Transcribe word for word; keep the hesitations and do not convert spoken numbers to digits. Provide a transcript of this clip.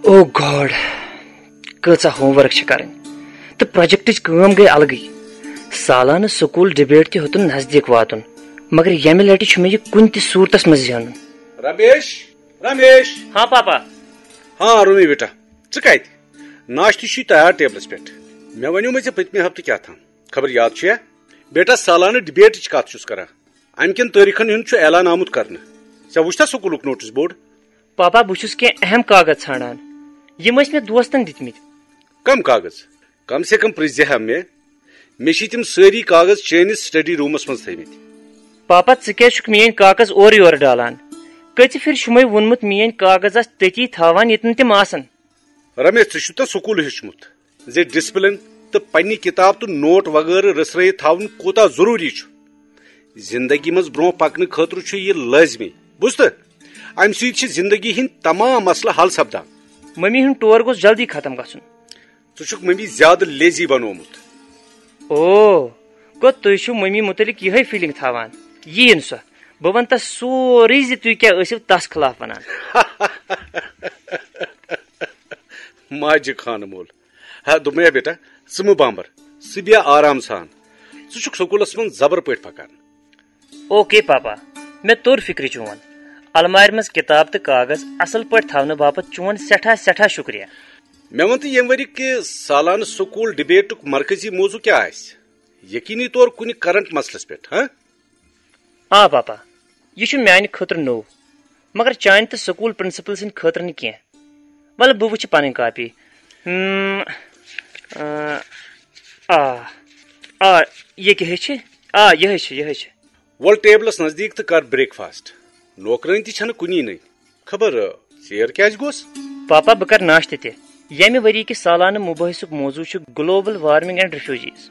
او گاڈ، کۭژاہ home work چھِ کرٕنۍ تہٕ پروجیکٹٕچ کٲم گٔے الگٕے۔ سالانہٕ سکول ڈبیٹ تہِ ہیوٚتُن نزدیٖک واتُن، مگر ییٚمہِ لٹہِ چھُ مےٚ یہِ کُنہِ تہِ صوٗرتس منٛز زینُن۔ رمیش، رمیش۔ ہاں پاپا۔ ہاں رومی بیٹا، ژٕ کتہِ؟ ناشتہٕ چھُے تیار ٹیبلس پٮ۪ٹھ۔ مےٚ ونیومے ژےٚ پٔتمہِ ہفتہٕ کیٛاہ تام، خبر یاد چھُیا؟ بیٹا، سالانہٕ ڈبیٹٕچ کتھ چھُس کران۔ امہِ کٮ۪ن تٲریخن ہُنٛد چھُ اعلان آمُت کرنہٕ۔ ژےٚ وُچھتھا سکولُک نوٹس بورڈ؟ پاپا، بہٕ چھُس کینٛہہ اہم کاغذ ژھانڈان، یِم ٲسۍ مےٚ دوستن دِتمٕتۍ۔ کم کاغذ؟ کم سے کم پرژھ زِ ہا مےٚ۔ مےٚ چھِ تِم سٲری کاغذ چٲنِس سٹڈی روٗمس منٛز تھٲومٕتۍ۔ پاپا، ژٕ کیازِ چھُکھ میٲنۍ کاغذ اورٕ یورٕ ڈالان؟ کٔژِ پھِرِ چھُمے ووٚنمُت میٲنۍ کاغذ آس تٔتی تھاوان ییٚتٮ۪ن تِم آسن؟ رمیش، ژےٚ چھُتھ نا سکوٗل ہیوٚچھمُت زِ ڈسپلن تہٕ پننہِ کتاب تہٕ نوٹ وغٲرٕ رژھرٲیِتھ تھاوُن کوٗتاہ ضروٗری چھُ؟ زندگی منٛز برونٛہہ پکنہٕ خٲطرٕ چھُ یہِ لٲزمی، بوٗزتھٕ؟ امہِ سۭتۍ چھِ زندگی ہٕنٛدۍ تمام مسلہٕ حل سپدان۔ ممی ہُنٛد ٹور گوٚژھ جلدی ختم گژھُن۔ ژٕ چھُکھ ممی زیادٕ لیزی بنوومُت۔ او، گوٚو تُہۍ چھِو ممی مُتعلق یِہے فیلنگ تھاوان؟ یِیِن سۄ، بہٕ ونہٕ تس سورُے زِ تُہۍ کیٛاہ ٲسِو تس خلاف ونان۔ ماجہِ خانہٕ مول۔ ہا، دوٚپمَے بیٹا، ژٕ مہٕ بامبر، ژٕ بیٚہہ آرام سان۔ ژٕ چھُکھ سکوٗلس منٛز زبر پٲٹھۍ پکان۔ اوکے پاپا، مےٚ توٚر فکرِ چون۔ المارِ منٛز کتاب تہٕ کاغذ اصل پٲٹھۍ تھاونہٕ باپتھ چون سٮ۪ٹھاہ سٮ۪ٹھاہ شُکریہ۔ مےٚ وَن تہٕ، ییٚمہِ ؤری کہِ سالانہٕ سکوٗل ڈبیٹُک مرکزی موضوع کیٛاہ آسہِ؟ یقینی طور کُنہِ کرنٹ مسلس پٮ۪ٹھ، ہاں؟ آ پاپا، یہِ چھُ میانہِ خٲطرٕ نوٚو، مگر چانہِ تہٕ سکوٗل پرنسپل سٕنٛدِ خٲطرٕ نہٕ کینٛہہ۔ ولہٕ بہٕ وٕچھِ پنٕنۍ کاپی۔ ہم، آ، آ، آ، یہِ کیٛاہ چھِ؟ آ، یِہے چھِ، یِہے چھِ۔ وۄل ٹیبلس نزدیٖک تہٕ کر بریک فاسٹ۔ نوکرٲنۍ تہِ چھنہٕ کُنی نٔنۍ۔ خبر، ژیر کیٛازِ گوٚس؟ پاپا، بہٕ کرٕ ناشتہٕ تہِ۔ ییٚمہِ ؤری کِس سالانہٕ مُبٲحثُک موضوع چھُ گلوبل وارمنگ اینڈ ریفیوجیز۔